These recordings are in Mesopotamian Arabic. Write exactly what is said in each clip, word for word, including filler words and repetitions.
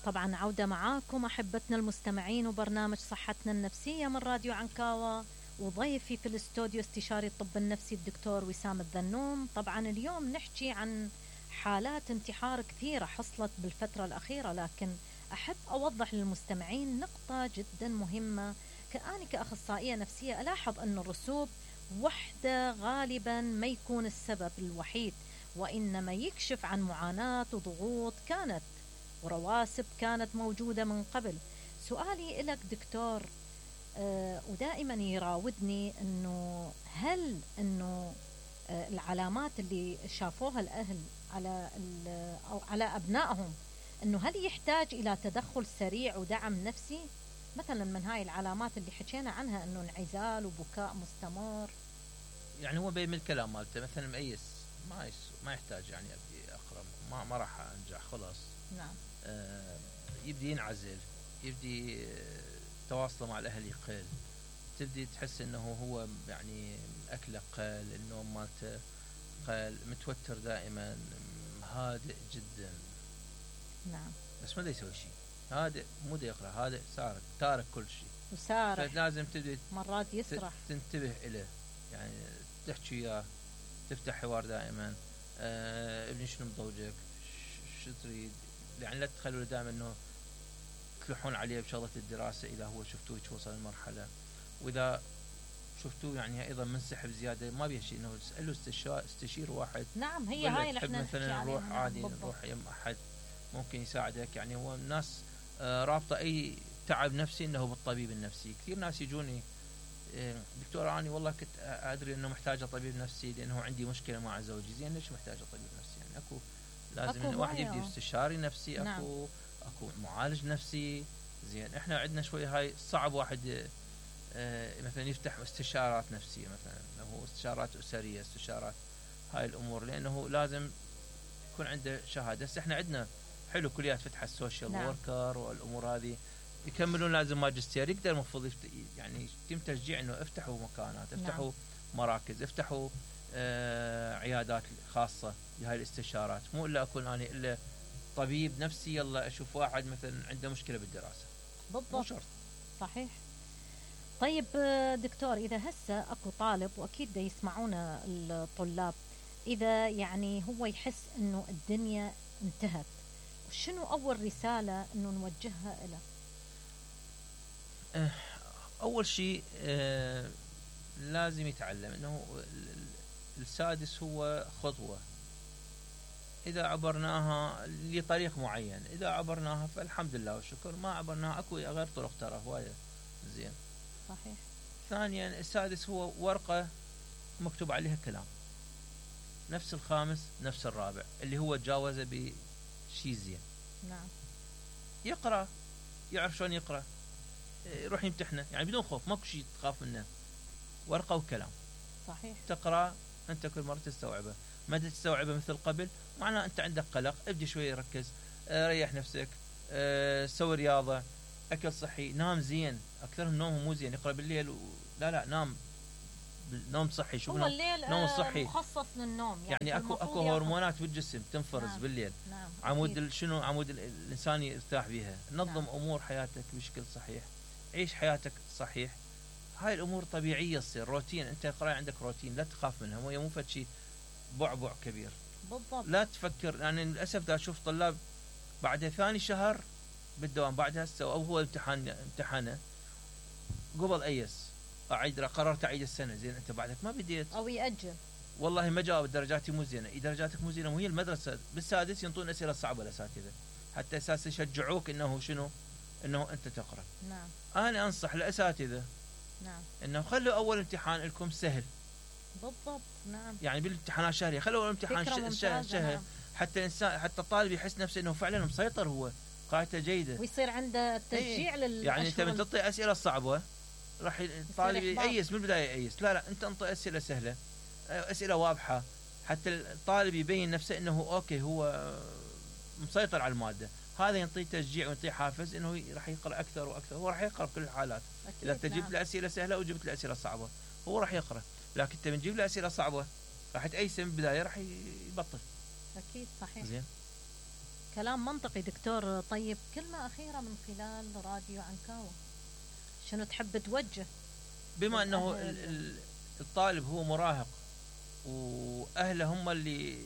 طبعا عودة معاكم أحبتنا المستمعين وبرنامج صحتنا النفسية من راديو عنكاوة، وضيفي في الاستوديو استشاري الطب النفسي الدكتور وسام الذنوم. طبعا اليوم نحكي عن حالات انتحار كثيرة حصلت بالفترة الأخيرة، لكن أحب أوضح للمستمعين نقطة جدا مهمة. كأني كأخصائية نفسية ألاحظ أن الرسوب وحده غالبا ما يكون السبب الوحيد، وإنما يكشف عن معاناة وضغوط كانت ورواسب كانت موجودة من قبل. سؤالي إلك دكتور، آه ودائما يراودني أنه هل أنه آه العلامات اللي شافوها الأهل على أو على أبنائهم، أنه هل يحتاج إلى تدخل سريع ودعم نفسي؟ مثلا من هاي العلامات اللي حكينا عنها أنه انعزال وبكاء مستمر. يعني هو بين الكلام مالته مثلا مؤيس ما يس ما يحتاج يعني أبدي أقرب ما ما راح أنجح خلاص. نعم. آه يبدي ينعزل، يبدي آه تواصله مع الأهل يقل، تبدي تحس إنه هو يعني أكله قل، النوم مالته قل، متوتر دائما، هادئ جدا. نعم. بس ما دا يسوي شيء، هادئ مو دا يقرأ، هادئ سارق تارك كل شيء وسارح، فلازم تبدي مرات يسرح تنتبه إليه، يعني تحكي وياه، تفتح حوار دائما. آه ابني شنو مضوجك، شو تريد، يعني لا تخلوا دائما انه تلحون عليه بشغله الدراسه اذا هو شفتوه وصل المرحله، واذا شفتوه يعني ايضا منسحب زياده ما بيه شيء انه تساله استشار استشير واحد. نعم هي هاي اللي احنا مثلا نروح عادي نروح يم احد ممكن يساعدك. يعني هو الناس آه رابطه اي تعب نفسي انه بالطبيب النفسي. كثير ناس يجوني دكتور أنا والله كنت أدري أنه محتاجة طبيب نفسي لأنه عندي مشكلة مع زوجي. زين ليش محتاجة طبيب نفسي؟ يعني أكو لازم أكو واحد يبدي استشاري نفسي. أكو نعم. أكو معالج نفسي. زين إحنا عندنا شوي هاي صعب واحد آه مثلا يفتح استشارات نفسية، مثلا هو استشارات أسرية، استشارات هاي الأمور، لأنه لازم يكون عنده شهادة. بس إحنا عندنا حلو كليات فتح السوشيال نعم. وركر والأمور هذه يكملون لازم ماجستير، يقدر المفروض يعني يتم تشجيع انه افتحوا مكانات، افتحوا نعم. مراكز، افتحوا آه عيادات خاصة بهاي الاستشارات. مو الا اكون انا الا طبيب نفسي يلا اشوف واحد مثلا عنده مشكلة بالدراسة. بالضبط شرط. صحيح. طيب دكتور، اذا هسه اكو طالب واكيد دا يسمعونا الطلاب، اذا يعني هو يحس انه الدنيا انتهت، شنو اول رسالة انه نوجهها له؟ أول شيء آه لازم يتعلم أنه السادس هو خطوة، إذا عبرناها لطريق معين، إذا عبرناها فالحمد لله والشكر، ما عبرناها أكو غير طرق ترى هواية. زين. صحيح. ثانيا السادس هو ورقة مكتوب عليها كلام، نفس الخامس نفس الرابع اللي هو تجاوزه بشيء زين. نعم. يقرأ، يعرف شلون يقرأ، يروح يمتحنه يعني بدون خوف، ماكو شيء تخاف منه، ورقة وكلام. صحيح. تقرأ أنت كل مرة تستوعبه، ما تستوعبه مثل قبل معناه أنت عندك قلق. ابدي شوي ركز، اه ريح نفسك، اه سوي رياضة، أكل صحي، نام زين. أكثرهم نومهم مو زين، يقرأ بالليل و... لا لا نام نوم صحي. شو هو الليل نوم صحي مخصص للنوم، يعني, يعني أكو أكو هرمونات بالجسم تنفرز نعم. بالليل. نعم. عمود شنو عمود الإنسان يرتاح بها. نظم نعم. أمور حياتك بشكل صحيح، عيش حياتك صحيح. هاي الأمور طبيعية تصير روتين. أنت قراءة عندك روتين، لا تخاف منها، مو مو فد شيء بعبع كبير. بالضبط. لا تفكر يعني للأسف دا أشوف طلاب بعد ثاني شهر بالدوام بعدها سو أو هو امتحان امتحانه قبل أيس أعيد قررت أعيد السنة. زين أنت بعدك ما بديت أو يأجل، والله ما جاوب درجاتي مو زينة. إذا درجاتك مو زينة وهي المدرسة بالسادس ينطون أسئلة صعبة الأساتذة حتى أساس يشجعوك إنه شنو إنه أنت تقرأ. نعم. أنا أنصح الأساتذة نعم إنه خلوا أول امتحان لكم سهل. بالضبط. نعم. يعني بالامتحانات الشهرية خلوا أول امتحان سهل سهل نعم. حتى الإنسان حتى الطالب يحس نفسه إنه فعلا مسيطر، هو قاعدته جيدة، ويصير عنده تشجيع ايه. لل يعني أنت من تعطي أسئلة صعبة راح الطالب يأيس من البداية يأيس. لا لا أنت انطي أسئلة سهلة، أسئلة واضحة، حتى الطالب يبين نفسه إنه أوكي هو مسيطر على المادة. هذا ينطيه تشجيع وينطيه حافز إنه راح يقرأ أكثر وأكثر. هو راح يقرأ بكل الحالات. إذا تجيب نعم. له أسئلة سهلة وجبت له أسئلة صعبة هو راح يقرأ، لكن أنت بنجيب له أسئلة صعبة راح تأيس من البداية راح يبطل. أكيد. صحيح. زين. كلام منطقي دكتور. طيب كلمة أخيرة من خلال راديو عنكاوة، شنو تحب توجه؟ بما أنه الطالب هو مراهق وأهله هم اللي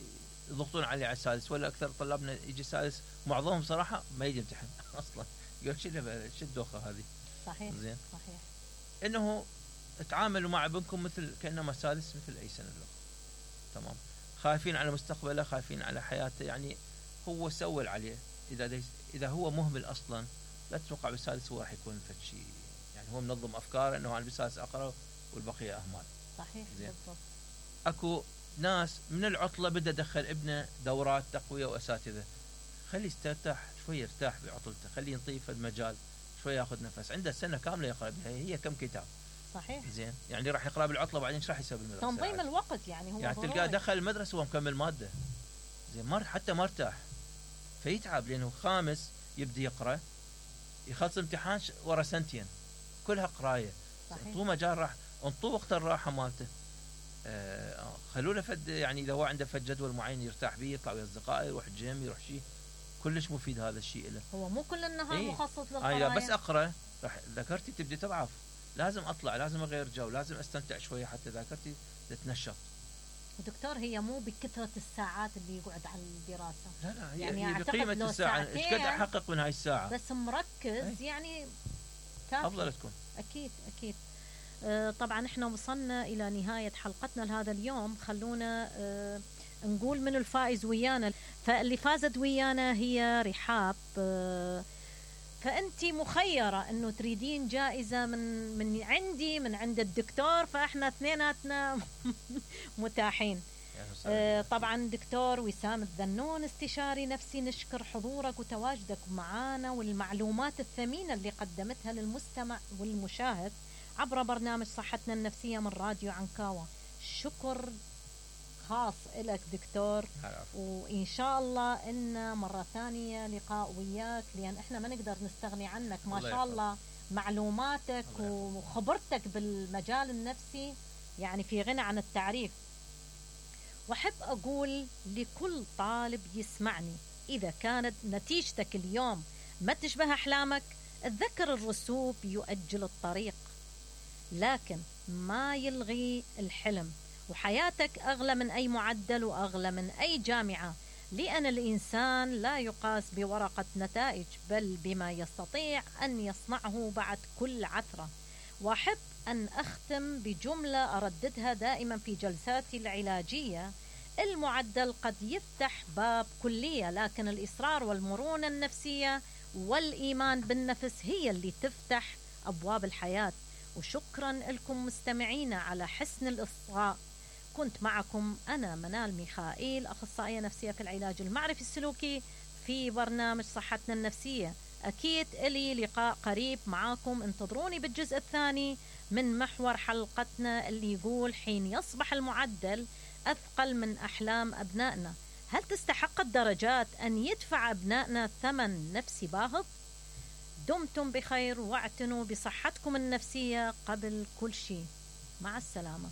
يضغطون عليه على السادس، ولا أكثر طلابنا يجي السادس معظمهم صراحة ما يجي يمتحن أصلا، يقول شو شو الدوخة هذه. صحيح زين. صحيح. إنه تعاملوا مع ابنكم مثل كأنما سادس مثل أي سنة له. تمام. خايفين على مستقبله، خايفين على حياته، يعني هو سوى اللي عليه. إذا إذا هو مهمل أصلا لا تتوقع بالسادس هو راح يكون فد شيء، يعني هو منظم أفكاره إنه أنا بالسادس أقرأ والبقية أهمال. صحيح. زين. بالضبط. أكو ناس من العطلة بدأ دخل ابنه دورات تقوية وأساتذة، خليه يسترتاح شوية، يرتاح بعطلته، خليه ينطيف المجال شوية، ياخذ نفس. عنده سنة كاملة يقرأ بها، هي كم كتاب. صحيح. زين. يعني راح يقرأ بالعطلة بعدين ايش راح يسوي بالمدرسة؟ تنظيم الوقت يعني هو يعني تلقاه دخل المدرسة وهو مكمل مادة. زين. مر حتى ما ارتاح فيتعب، لأنه خامس يبدأ يقرأ يخلص امتحان ورا سنتين كلها قراية. انطوه مجال راح، انطوه وقت الراحة مالته. آه خلوه له فد، يعني إذا هو عنده فد جدول معين يرتاح به، يطلع ويا أصدقائه، يروح الجيم، يروح شيء، كلش مفيد هذا الشيء له. هو مو كل النهار ايه؟ مخصص للقراية. آه بس أقرأ راح ذاكرتي تبدي تضعف، لازم أطلع، لازم أغير جو، لازم أستمتع شوية حتى ذاكرتي تتنشط. دكتور هي مو بكثرة الساعات اللي يقعد على الدراسة، لا لا، هي, يعني هي بقيمة الساعة، ايش قد أحقق من هاي الساعة بس مركز. ايه؟ يعني كافي. أفضل تكون. أكيد أكيد. آه طبعا احنا وصلنا إلى نهاية حلقتنا لهذا اليوم. خلونا آه نقول من الفائز ويانا. فاللي فازت ويانا هي رحاب. آه فأنتي مخيرة أنه تريدين جائزة من من عندي من عند الدكتور، فإحنا اثنيناتنا متاحين. آه طبعا دكتور وسام الذنون استشاري نفسي، نشكر حضورك وتواجدك معنا والمعلومات الثمينة اللي قدمتها للمستمع والمشاهد عبر برنامج صحتنا النفسية من راديو عنكاوة. شكر خاص لك دكتور، وإن شاء الله إن مرة ثانية لقاء وياك، لأن إحنا ما نقدر نستغني عنك. ما شاء الله معلوماتك وخبرتك بالمجال النفسي يعني في غنى عن التعريف. وأحب أقول لكل طالب يسمعني، إذا كانت نتيجتك اليوم ما تشبه أحلامك، اتذكر الرسوب يؤجل الطريق لكن ما يلغي الحلم، وحياتك أغلى من أي معدل وأغلى من أي جامعة، لأن الإنسان لا يقاس بورقة نتائج بل بما يستطيع أن يصنعه بعد كل عثرة. وأحب أن أختم بجملة أرددها دائما في جلساتي العلاجية: المعدل قد يفتح باب كلية، لكن الإصرار والمرونة النفسية والإيمان بالنفس هي اللي تفتح أبواب الحياة. وشكرا لكم مستمعينا على حسن الإصغاء. كنت معكم أنا منال ميخائيل، أخصائية نفسية في العلاج المعرفي السلوكي في برنامج صحتنا النفسية. أكيد إلي لقاء قريب معاكم، انتظروني بالجزء الثاني من محور حلقتنا اللي يقول: حين يصبح المعدل أثقل من أحلام أبنائنا، هل تستحق الدرجات أن يدفع أبنائنا ثمن نفسي باهظ؟ دمتم بخير واعتنوا بصحتكم النفسية قبل كل شيء. مع السلامة.